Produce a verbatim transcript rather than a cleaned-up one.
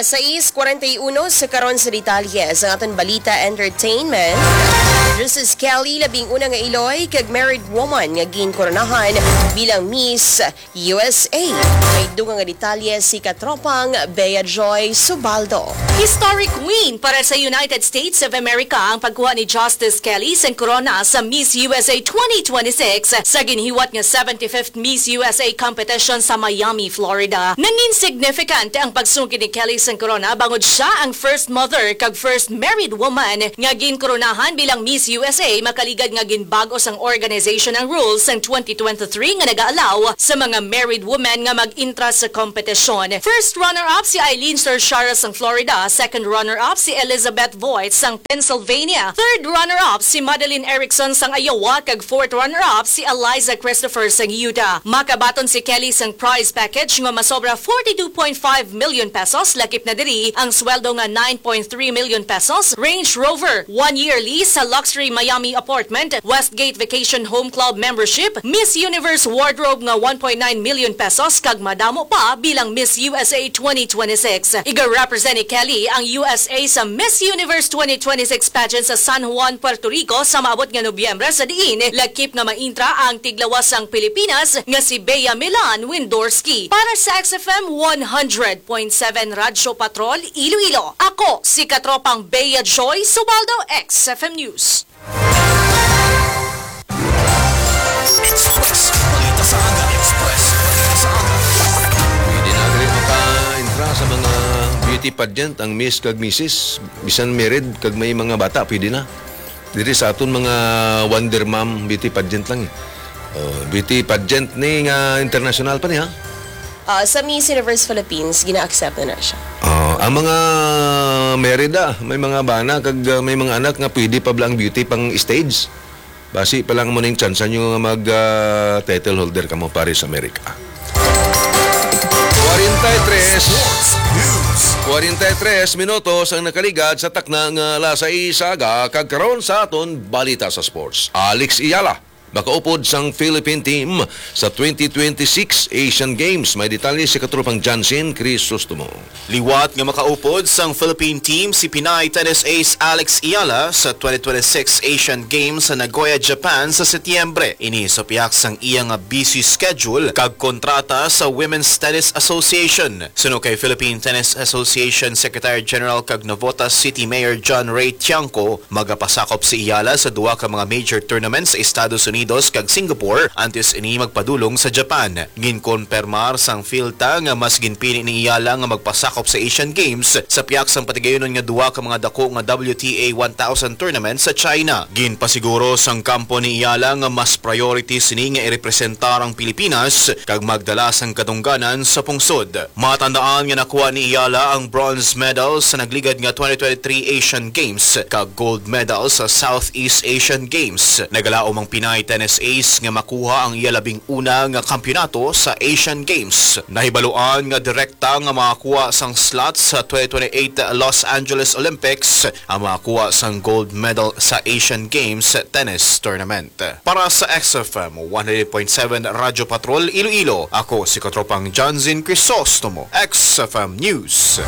Sais kwarenta y uno sa karon sa detalye sa aton balita entertainment. Justice Kelly, labing una nga iloy kag married woman nga ginkoronahan bilang Miss U S A. May dugang nga detalye si katropang Bea Joy Subaldo. Historic win para sa United States of America ang pagkuha ni Justice Kelly sang korona sa Miss U S A twenty twenty-six sa ginhiwat nga seventy-fifth Miss U S A competition sa Miami, Florida. Nangin significant ang pagsugid ni Kelly sang korona bangod siya ang first mother kag first married woman nga ginkoronahan bilang Miss U S A, makaligad nga ginbag-o sang organization ang rules sang twenty twenty-three nga nag-aalaw sa mga married women nga mag-intra sa kompetisyon. First runner-up si Eileen Sorchara sang Florida, second runner-up si Elizabeth Voigt sang Pennsylvania, third runner-up si Madeline Erickson sang Iowa, kag fourth runner-up si Eliza Christopher sang Utah. Makabaton si Kelly sang prize package nga masobra forty-two point five million pesos, lakip na diri ang sweldo nga nine point three million pesos, Range Rover, one-year lease sa luxury Miami apartment, Westgate Vacation Home Club membership, Miss Universe wardrobe nga one point nine million pesos, kag madamo pa bilang Miss U S A twenty twenty-six. Iga-represent ni Kelly ang U S A sa Miss Universe twenty twenty-six pageant sa San Juan, Puerto Rico sa maabot nga Nobyembre, sa diin lakip nga maintra ang tiglawas sang Pilipinas nga si Bea Milan Windorski. Para sa X F M one hundred point seven Radyo Patrol Iloilo, ako si katropang Bea Joy Subaldo, X F M News. Express. Balita sa aga. Express. Balita sa aga. Pwede na diri maka-intra sa mga beauty pageant ang Miss kag Missus. Bisan married kag may mga bata, pwede na. Diri sa aton mga Wonder Mom beauty pageant lang eh. Oh, beauty pageant ni nga international pa ni, ha? Ah, sa Miss Universe Philippines, gina-accept na na siya. Ah, ang mga married, ah, may mga bana kag, ah, may mga anak nga pwede pa bala ang beauty pang stage. Basi pa lang mo ning tsansa nyo nga mag, ah, title holder kamo, pare, sa Amerika. Kwarenta y tres, Sports News. Kwarenta y tres minutos ang nakaligad sa takna nga alas sais sa aga, kag karon sa aton balita sa sports. Alex Iyala, makaupod sang Philippine team sa twenty twenty-six Asian Games. May detalye si katropang Jansen Crisostomo. Liwat nga makaupod sang Philippine team si Pinay tennis ace Alex Iyala sa twenty twenty-six Asian Games sa Nagoya, Japan sa Setyembre. Ini sa pihak sang iya nga busy schedule kag kontrata sa Women's Tennis Association. Suno kay Philippine Tennis Association Secretary General kag Navotas City Mayor John Ray Tiangco, magapasakop si Iyala sa duha ka mga major tournaments sa Estados Unidos kag Singapore antes ini magpadulong sa Japan. Ginkonpermar sang PHILTA nga mas ginpili ni Iyala nga magpasakop sa Asian Games sa pihak sang patigayunon nga duha ka mga dako nga W T A one thousand tournament sa China. Ginpasiguro sang kampo ni Iyala nga mas priority sini nga irepresentar ang Pilipinas kag magdala sang kadungganan sa pungsod. Matandaan nga nakuha ni Iyala ang bronze medal sa nagligad nga twenty twenty-three Asian Games kag gold medal sa Southeast Asian Games. Nagalaom ang Pinay tennis ace nga makuha ang iya labing una nga kampiyonato sa Asian Games. Nahibaluan nga direkta nga makakuha sang slot sa twenty twenty-eight Los Angeles Olympics ang makakuha sang gold medal sa Asian Games Tennis Tournament. Para sa X F M one hundred point seven Radyo Patrol Iloilo, ako si Katropang Johnson Crisostomo, X F M News.